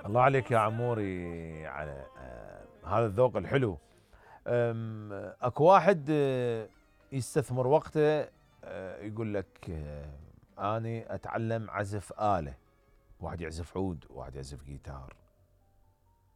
الله عليك يا عموري على هذا الذوق الحلو. اكو واحد يستثمر وقته، يقول لك اني اتعلم عزف آلة، واحد يعزف عود، واحد يعزف جيتار،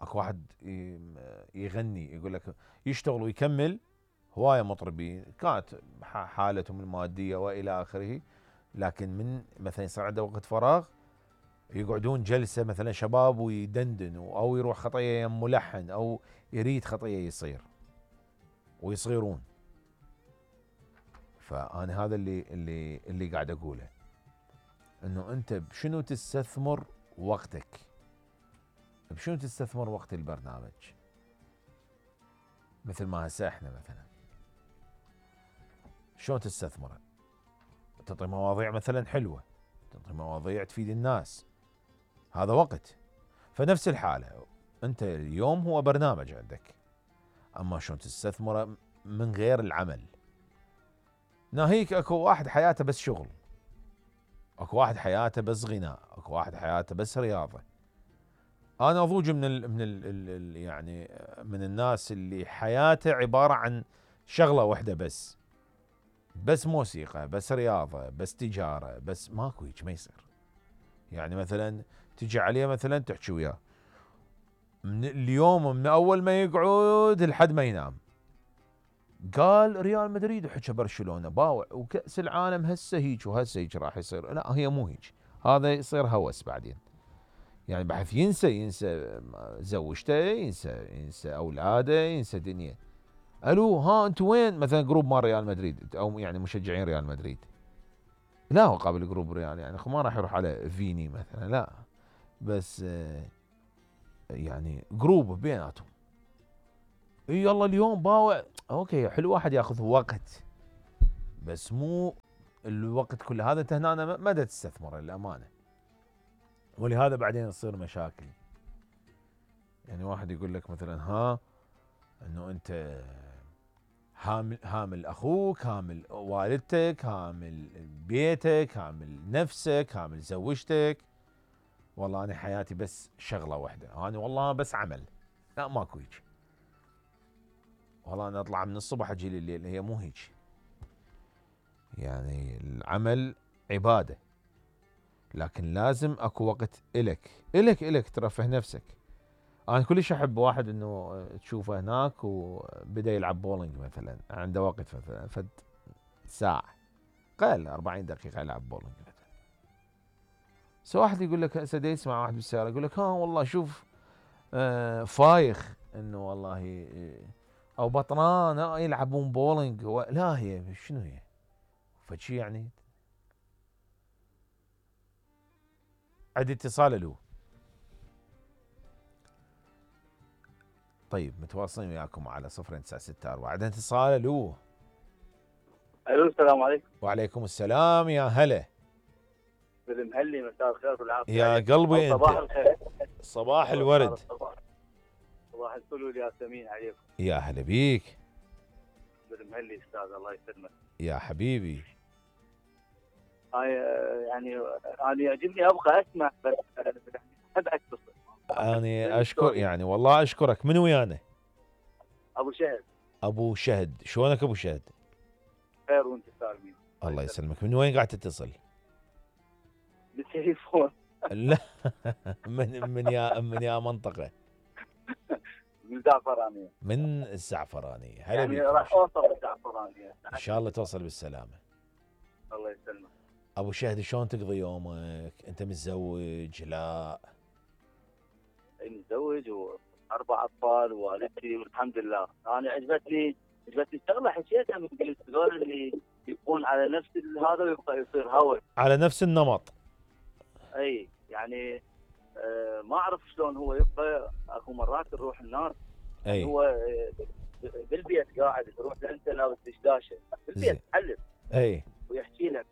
اكو واحد يغني، يقول لك يشتغل ويكمل. هواية مطربين كانت حالتهم المادية والى اخره، لكن من مثلا يصير عنده وقت فراغ يقعدون جلسة مثلا شباب ويدندنوا، او يروح خطية يم ملحن، او يريد خطية يصير ويصيرون. فانا هذا اللي قاعد اقوله، انه انت بشنو تستثمر وقتك، بشنو تستثمر وقت البرنامج. مثل ما هسه احنا مثلا شلون تستثمره؟ تعطي مواضيع مثلا حلوة، تعطي مواضيع تفيد الناس، هذا وقت. فنفس الحالة انت اليوم هو برنامج عندك، اما شلون تستثمره من غير العمل. ناهيك اكو واحد حياته بس شغل، اكو واحد حياته بس غناء، اكو واحد حياته بس رياضة. انا اضوج من يعني من الناس اللي حياته عبارة عن شغلة واحدة بس موسيقى، بس رياضة، بس تجارة، بس ماكو هيك، ما يصير. يعني مثلا تجي عليه مثلا تحكي وياه من اليوم، من اول ما يقعد لحد ما ينام، قال ريال مدريد وحكى برشلونة باوع وكأس العالم هسه هيك وهسه هيك راح يصير. لا، هي مو هيك، هذا يصير هوس بعدين. يعني بحيث ينسى زوجته، ينسى اولاده، ينسى دنيا. الو ها انتم وين؟ مثلا جروب مال ريال مدريد، او يعني مشجعين ريال مدريد، لا هو قابل جروب ريال، يعني ما راح يروح على فيني مثلا، لا، بس يعني جروب بيناتهم. يلا اليوم باوع، اوكي حلو، واحد ياخذ وقت، بس مو الوقت كله. هذا انت هنا ما تستثمره للامانه، ولهذا بعدين تصير مشاكل. يعني واحد يقول لك مثلا انه انت هامل اخوك، هامل والدتك، هامل بيتك، هامل نفسك، هامل زوجتك. والله انا حياتي بس شغله واحده، انا والله بس عمل. لا، ماكو هيك. والله انا اطلع من الصبح اجي لليل، هي مو هيك. يعني العمل عباده، لكن لازم اكو وقت الك ترفه نفسك. انا كلش احب واحد انه تشوفه هناك وبدا يلعب بولينج مثلا، عنده وقت مثلا فد ساعه، قل 40 دقيقه يلعب بولينج مثلا. بس واحد يقول لك هسه يسمع واحد بالسياره يقول لك والله شوف فايخ انه والله او بطران يلعبون بولينج. لا، هي شنو هي؟ فشي يعني. عندي اتصال. الو. طيب متواصلين وياكم على 0964. عندنا اتصال. الو. الو، السلام عليكم. وعليكم السلام، يا هلا. بالمهلي، مساء الخير والعافيه. يا قلبي انت. صباح الخير. صباح الورد. صباح الفل والياسمين عليكم. يا هلا بيك. بالمهلي استاذ، الله يسلمك. يا حبيبي. يعني انا يعجبني ابغى اسمع، بس احب اتصل. انا اشكر، يعني والله اشكرك. من ويانا؟ ابو شهد. ابو شهد، شلونك ابو شهد؟ خير وانت سالمين. الله يسلمك. من وين قاعد تتصل؟ بالتليفون. لا. من يا منطقة؟ من الزعفرانية. من الزعفرانية. هلا يعني بيك. راح اوصل الزعفرانية ان شاء الله توصل بالسلامة. الله يسلمك. ابو شهد، شلون تقضي يومك؟ انت متزوج؟ لا. متزوج واربع اطفال ووالدتي والحمد لله. انا عجبتني الشغله، حكيتها من قلت هذول اللي يبقون على نفس هذا ويبقى يصير هوس على نفس النمط. اي يعني ما اعرف شلون هو يبقى. اكو مرات نروح الناس، اي هو بالبيت قاعد، تروح انت لابس دشداشه بالبيت تحلف، اي، ويحكي لك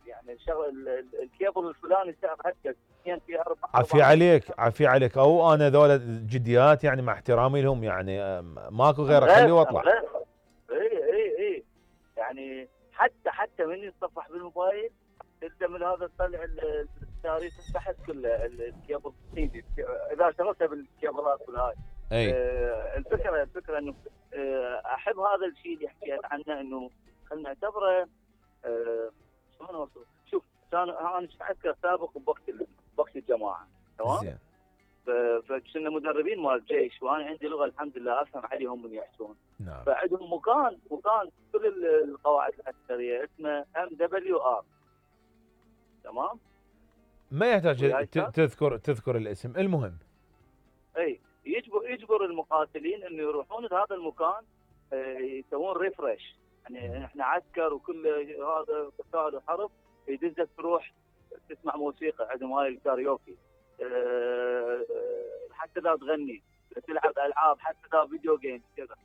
يعني الشغله الكيبل الفلاني سعر هكذا، في 4. عافية عليك، عافية عليك. او انا ذولا جديات يعني، مع احترامي لهم، يعني ماكو غير، اخليه واطلع. اي يعني حتى من يتصفح بالموبايل انت من هذا تطلع التاريخ تحت كله الكيبل الصيني اذا شغلتها بالكيبلات والهاي. اي الفكره انه احب هذا الشيء اللي حكيت عنه، انه خلينا نعتبره شلون اوصف. شوف انا اذكر سابق بوقت الجماعه، تمام؟ زين. فكنا مدربين مال الجيش، وانا عندي لغه الحمد لله افهم عليهم من يحكون. نعم. فعندهم مكان كل القواعد العسكريه اسمه MWR، تمام؟ ما يحتاج تذكر الاسم، المهم. اي يجبر المقاتلين انه يروحون لهذا المكان يسوون ريفرش. يعني احنا عسكر وكل هذا قتال وحرب، يدزك تروح تسمع موسيقى، عندهم هاي الكاريوكي، حتى ذا تغني، تلعب العاب، حتى ذا فيديو جيم كذا.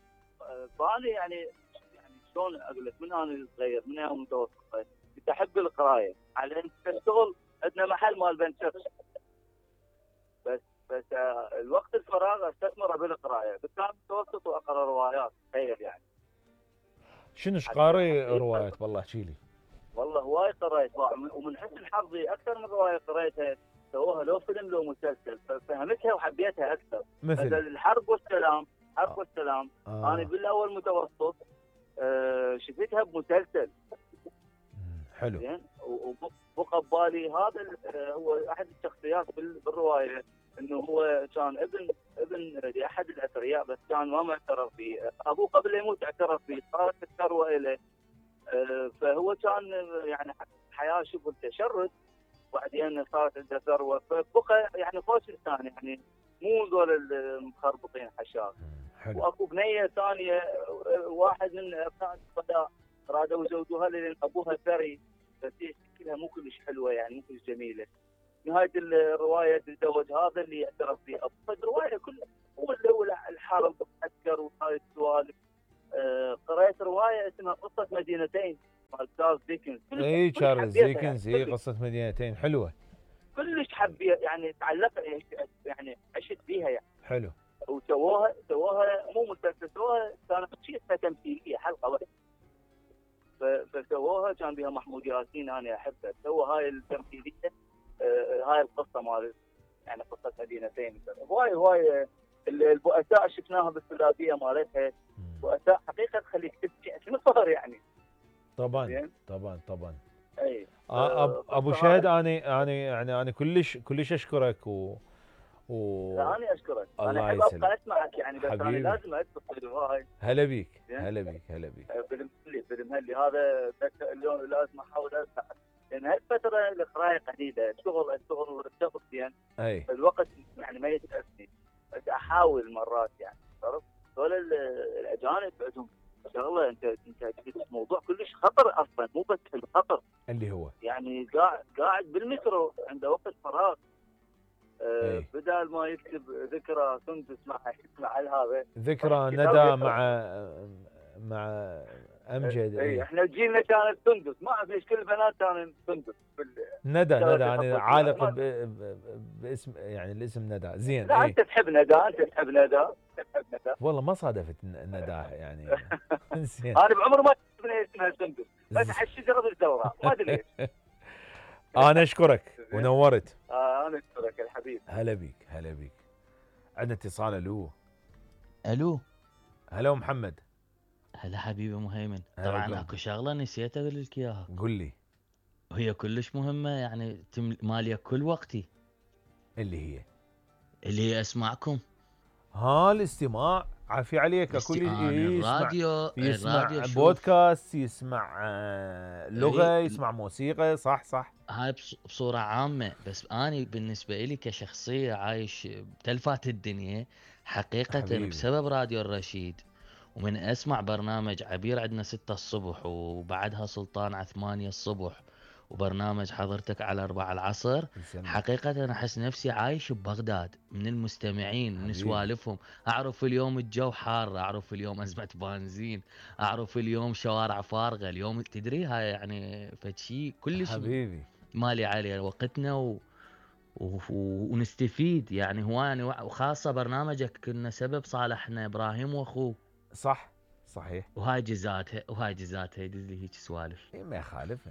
فانا يعني شلون اقول لك، من انا صغير، من انا متوسط، كنت احب القرايه، على ان الشغل عندنا محل مال بنشرش، بس الوقت الفراغ استثمره بالقرايه. كنت انا متوسط واقرا روايات، تخيل يعني. شنو قاري روايات؟ والله احكي لي. والله هواي قريت، ومن حسن حظي اكثر من روايه قريتها سووها لو فيلم لو مسلسل، ففهمتها وحبيتها اكثر. مثل الحرب والسلام. انا بالاول متوسط شفتها بمسلسل. حلو. زين. وبقى ببالي هذا هو احد الشخصيات بالروايه، انه هو كان ابن لاحد الاثرياء، بس كان ما معترف به. ابوه قبل لا يموت اعترف به، صارت الثروه له. فهو كان يعني حياه شبه التشرد، وبعدين صارت عنده ثروه، فبقى يعني خوش انسان، يعني مو ذول المخربطين حشاش. واكو بنيه ثانيه، واحد من ابناء الشهداء رادوا يزوجوها لان ابوها ثري، بس هي شكلها مو كلش حلوه، يعني مو كلش جميله. نهايه الروايه تتزوج هذا اللي اعترف به ابوها. الروايه كلها هو الحرب والعسكر وهاي السوالف. قرأت روايه اسمها قصه مدينتين مال تشارلز ديكنز. اي تشارلز ديكنز، هي قصه مدينتين حلوه. كلش حبيت، يعني تعلقت، يعني عشت بيها يعني. حلو. وسووها مو مسلسل، سووها كانت شيء تمثيليه، حلقه واحده. فسووها كان بها محمود ياسين، انا احبه، سوى هاي التمثيليه. هاي القصه مال يعني قصه مدينتين. هواي البؤساء شفناها بالثلاثيه مالتها، بؤساء حقيقه تخليك تبكي تنصهر يعني. طبعا. اي ابو شهد، انا كلش اشكرك لا انا اشكرك. انا احب ابقى اسمعك يعني، بس انا لازم اتصل هاي. هلا بيك. بالمهلي هذا اليوم لازم احاول اسمع، لان هالفتره القرايه قليله، الشغل زين. الوقت يعني ما يتأسني، بس احاول مرات يعني. عرفت؟ دول الاجانب عندهم شغله، انت جبت موضوع كلش خطر اصلا، مو بس الخطر اللي هو يعني قاعد بالمترو عنده وقت فراغ، بدال ما يكتب ذكرى سندس مع هذا ذكرى ندى مع امجد. احنا جيلنا كانت سندس، ما اعرف ليش كل البنات كانوا سندس. ندى انا عالق باسم، يعني الاسم ندى. زين. لا انت تحب ندى. والله ما صادفت ندى يعني. زين. انا بعمر ما شفت اسمها سندس، بس على الشجره بالدوره، ما ادري ليش. انا اشكرك ونورت. انا اشكرك يا حبيبي. هلا بيك. عندنا اتصال. الو. هلا محمد. هلا حبيبي مهيمن. طبعا اكو شغله نسيت اقول لك اياها. قل لي. وهي كلش مهمه، يعني ماليه كل وقتي. اللي هي اسمعكم. الاستماع. عافية عليك. الراديو يسمع بودكاست، يسمع لغة، يسمع موسيقى. صح. هاي بصورة عامة، بس أنا بالنسبة لي كشخصية عايش بتلفات الدنيا حقيقة حبيبي. بسبب راديو الرشيد، ومن أسمع برنامج عبير عندنا 6 الصبح، وبعدها سلطان على 8 الصبح، وبرنامج حضرتك على 4 العصر. حقيقة أنا أحس نفسي عايش ببغداد، من المستمعين، من سوالفهم. أعرف اليوم الجو حار، أعرف اليوم أزمة بنزين، أعرف اليوم شوارع فارغة، اليوم تدري هاي يعني فشي كلش حبيبي مالي عليه وقتنا ونستفيد يعني هواي. وخاصة برنامجك كنا سبب صالحنا إبراهيم وأخوه. صحيح. وهاي جزاتها يدز لي هيك سوالف. ما يخالف.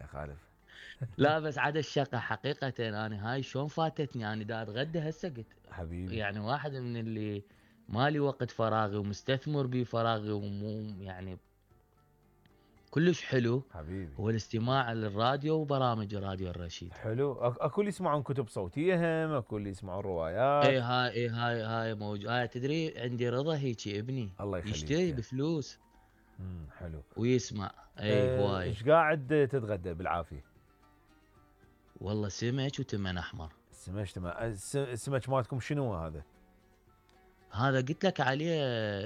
لا بس عاد الشقة حقيقة انا هاي شلون فاتتني، انا دا اتغدى هسه قلت حبيبي يعني واحد من اللي مالي وقت فراغي ومستثمر بفراغي ومو يعني كلش حلو حبيبي هو الاستماع للراديو وبرامج راديو الرشيد. حلو. اكو اللي يسمعون كتب صوتيه، هم اكو اللي يسمعون روايات. اي هاي موجود. تدري عندي رضا هيجي ابني الله يشتري يخليك. بفلوس حلو. ويسمع. اي هواي. ايش قاعد تتغدى بالعافيه؟ والله سمك وتمن احمر. السمك مالتكم شنو هذا؟ هذا قلت لك عليه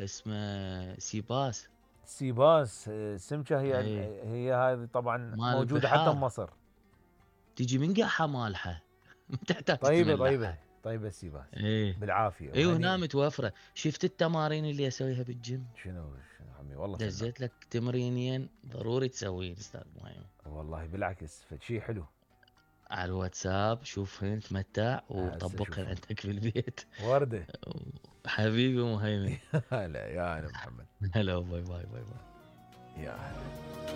اسمه سيباس. سيباس. السمكه هي اي هي هذه طبعا مال موجوده حتى البحار. بمصر. تجي من قاحة مالحة ما تحتاج طيبه تملحها. طيبه السيباس. ايه بالعافيه اي وهني. وهنا متوفرة. شفت التمارين اللي اسويها بالجيم؟ شنو عمي والله فنان. دزيت لك تمرينين ضروري تسوين استاذ مهيمن. والله بالعكس فشي حلو. على الواتساب شوفهن تمتع هسه وطبقهن أشوفهم. عندك في البيت. ورده. حبيبي مهيمن. هلا يا انا محمد. هلا باي باي باي باي. يا هلا.